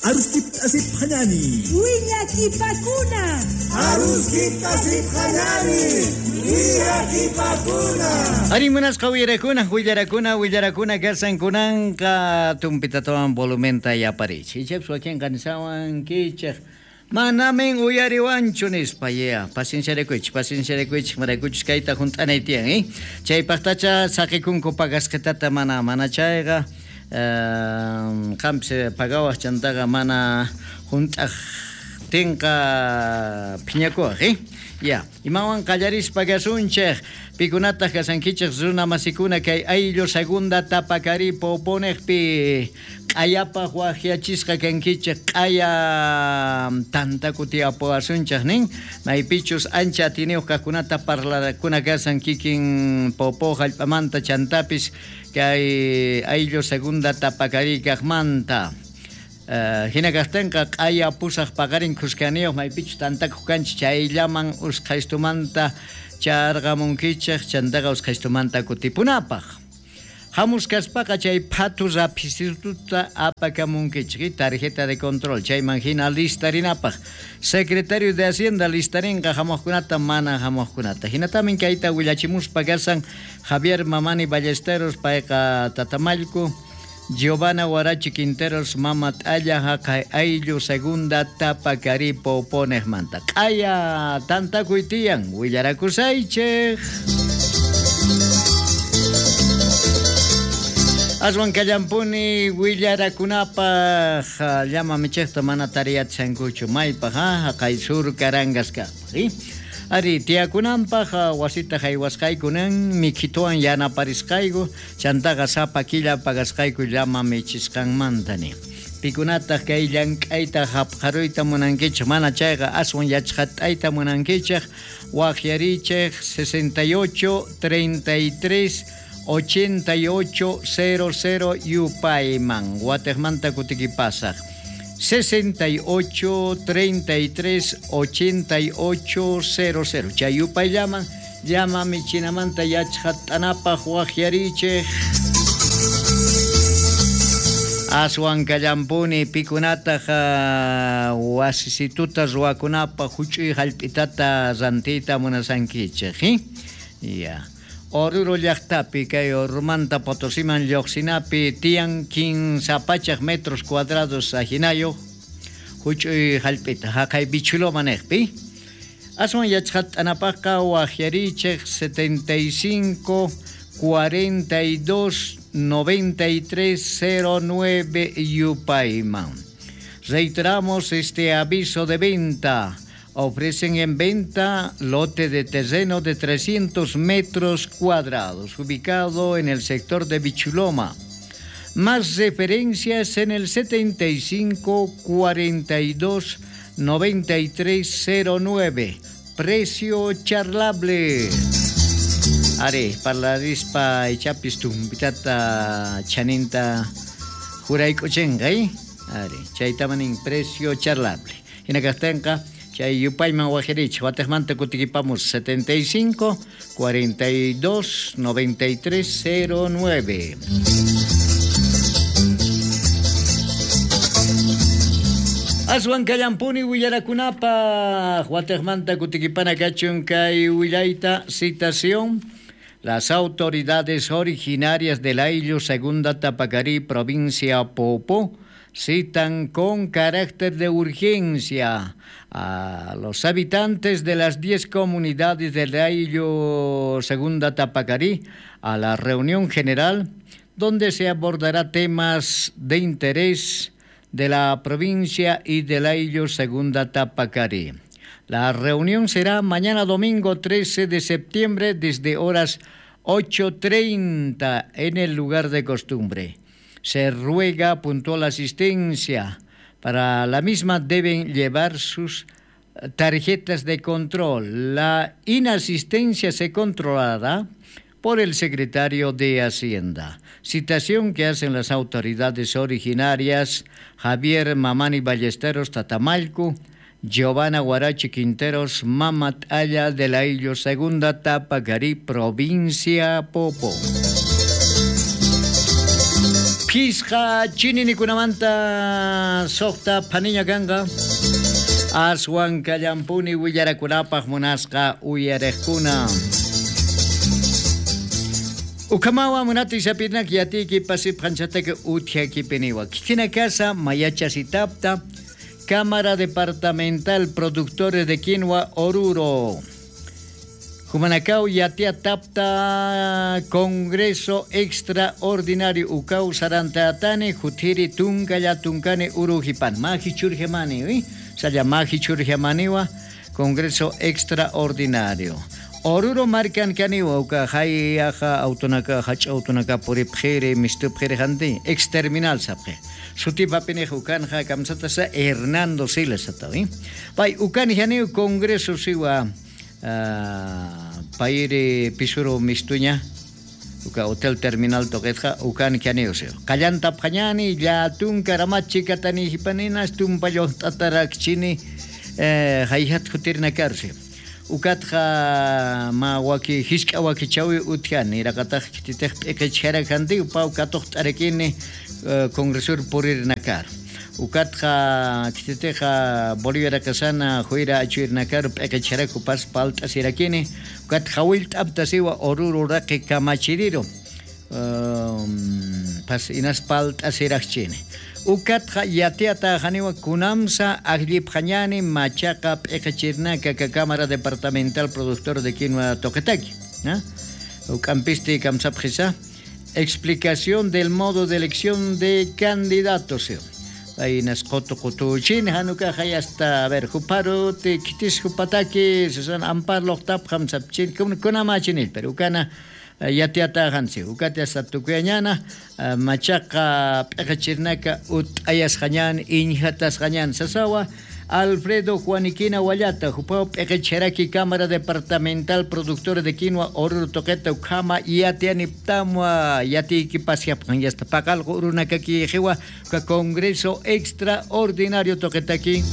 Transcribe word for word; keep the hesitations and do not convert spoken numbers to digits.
Aruskipta asipqañani. Willakipakuna. Aruskipta asipqañani. Willakipakuna. Ari munasqa willarakuna, willarakuna, willarakuna kasankunanqa tumpitatawan volumenta yaparichi. Ichapas wakinqa nisawankichej. Manamin uyariwanchu nispa, ya, pacienciarikuychik, pacienciarikuychik, maraykuchus kayta junt'anay tiyan, eh? Chaypaqtacha saqikunku pagasqitata mana mana chayqa, eh, qampis pagawaq chantaqa mana junt'aqtinqa phiñakuwaq, eh? Ya, imawan qallarispa kasunchej, pikunataq kasankichej runa masikuna kay ayllu segunda Tapacarí Poponejpi q'ayapaq waqyachisqa kankichej q'aya tantakutiyapuwasunchej nin, maypichus ancha atiniyuq kaqkunata parlarakuna kasan kikin Popo hallp'amanta chantapis kay ayllu segunda Tapacarí kaqmanta. Uh, hina kaqtinqa q'aya pusaq paqarin khuskaniyuq maypichus tantakuq kanchik chayllaman usqhaystumanta charqamunkichej chantaqa usqhaystumanta kutipunapaq. Hamus kaspaqa chay phatu raphisituta apakamunkichik, tarjeta de control chayman hina listarinapaq. Secretario de Hacienda listarinqa hamuqkunata mana hamuqkunata. Hinatamin kayta willachimuspa kasan Javier Mamani Ballesteros payqa Tatamallku, Giovanna Guarachi Quinteros, Mama Talla, Jaqay Ayllu, Segunda Tapacarí, Poponejmanta. Q'aya tantakuy tiyan, willarakusaychej. Aswan kallampuni willarakunapaq llama michejta mana tariyachankuchu maypaq, ha, jaqay sur Carangas kaqpaq, eh? Ari, tiyakunanpaq wasita haywasqaykunan mikhituwan yanaparisqayku, chantaqa sapa killa pagasqayku llama michisqanmanta ni. Pikunataq kay llank'ayta hapqaruyta munankichej, mana chayqa aswan yachqat'ayta munankichej, waqyarichej sesenta y ocho, treinta y tres, ochenta y ocho, cero cero yupayman, watejmanta kutikipasaq. sesenta y ocho, treinta y tres, ochenta y ocho, cero cero. Chay yupayllaman, llama michinamanta yachqat'anapaq waqyarichej. Aswan kallampuni pikunataq wasisituta ruwakunapaq huch'uy hallp'itata rantiyta munasankichej, eh? Ya. Oruro llaqtapi kay Ormanta Potosiman lluqsinapi tiyan kinsa pachak metros cuadrados ajinayuq huch'uy hallp'ita haqay Bichuloma niqpi. Aswan yachqat'anapaqqa waqyarichej setenta y cinco, cuarenta y dos, noventa y tres, cero nueve yupayman. Reiteramos este aviso de venta. Ofrecen en venta lote de terreno de trescientos metros cuadrados, ubicado en el sector de Bichuloma. Más referencias en el setenta y cinco, cuarenta y dos, noventa y tres, cero nueve. Precio charlable. Are, parlarispa ichapis tumpitata chaninta juraykuchenqa, eh? Are, chaytamanin precio charlable. Hinakaqtinqa chay yupayman waqyarichej, watejmanta kutikipamos setenta y cinco, cuarenta y dos, noventa y tres, cero nueve. Aswan kallampuni willarakunapaq, watejmanta kutikipana kachun kay willayta citación. Las autoridades originarias del Ayllu Segunda Tapacarí, provincia Popó, citan con carácter de urgencia a los habitantes de las diez comunidades del Ayllu Segunda Tapacarí a la reunión general donde se abordará temas de interés de la provincia y del Ayllu Segunda Tapacarí. La reunión será mañana domingo trece de septiembre desde horas ocho treinta en el lugar de costumbre. Se ruega puntual asistencia. Para la misma deben llevar sus tarjetas de control. La inasistencia se controlará por el secretario de Hacienda. Citación que hacen las autoridades originarias Javier Mamani Ballesteros Tatamalco, Giovanna Guarachi Quinteros, Mamat Aya de la Illo Segunda Tapacarí, provincia Popo. Pisqa chininikunamanta soqta phaniña kanqa. Aswan kallampuni willarakunapaq munasqa uyariqkuna. Ukamawa munati sapirnak yatiki pasip hanchataka uthiakipiniwa. Kitina casa mayacha sitapta Cámara Departamental Productores de Quinoa Oruro. Jumanacao yatia tapta Congreso Extraordinario Ucau Sarantatani Jutiri Tuncaya Tuncane Urujipan. Maji churjemani, ¿eh? Saya maji churjemaniwa Congreso Extraordinario. Oruro marcan caniwa uka hay aja autonaka hach autonaka puripjere mistupjere janti exterminal sapje. Sutipa pinejo ukanja kamsatasa Hernando Siles atavi. Pai ukan janiu Congreso siwa Uh, paire pisuro mistuña uka hotel terminal toquetja ukan kianiuseo kallanta pjañani llatun karamachi katani hipaninas tumpayo tatarakchini eh, hayhat jutirna karse ukatja ma waki hiska waki chawi utjani rakataj kititej p'eqechjara janti upa ukatoj t'arekini uh, congresur purirnakar ukatja kititeja Bolivia rakasana juira achuirnakar p'eqechjaraku pas palt'asirakini ukatja wilt'aptasiwa Oruro raqi kamachiriro um, pas inas palt'asiraqchini ukatja yatiata janiwa kunamsa ajllipjañani machaqa p'eqechirnaka ka Cámara Departamental Productor de Quinoa toqetaki, ¿no? Ukampisti kamsapjisa explicación del modo de elección de candidatos. Ahí nas qoto qotuchin hanuka hasta a ver juparo te kitis jupataki susan ampar loqtap hamsapchin kunamachinil pero ukana yatiata hansi ukatia satukuyañana machaqa p'eqechirnaka ut'ayasqañan inhatasqañan sasawa Alfredo Juaniquina Wallata, Jupao P'eqecheraki Cámara Departamental Productora de Quinoa Oruro Toqueta Ukama Yatianiptamua Yatiquipasiapjan yasta Pacalgo Urunakaki Jiwa Congreso Extraordinario Toquetaki.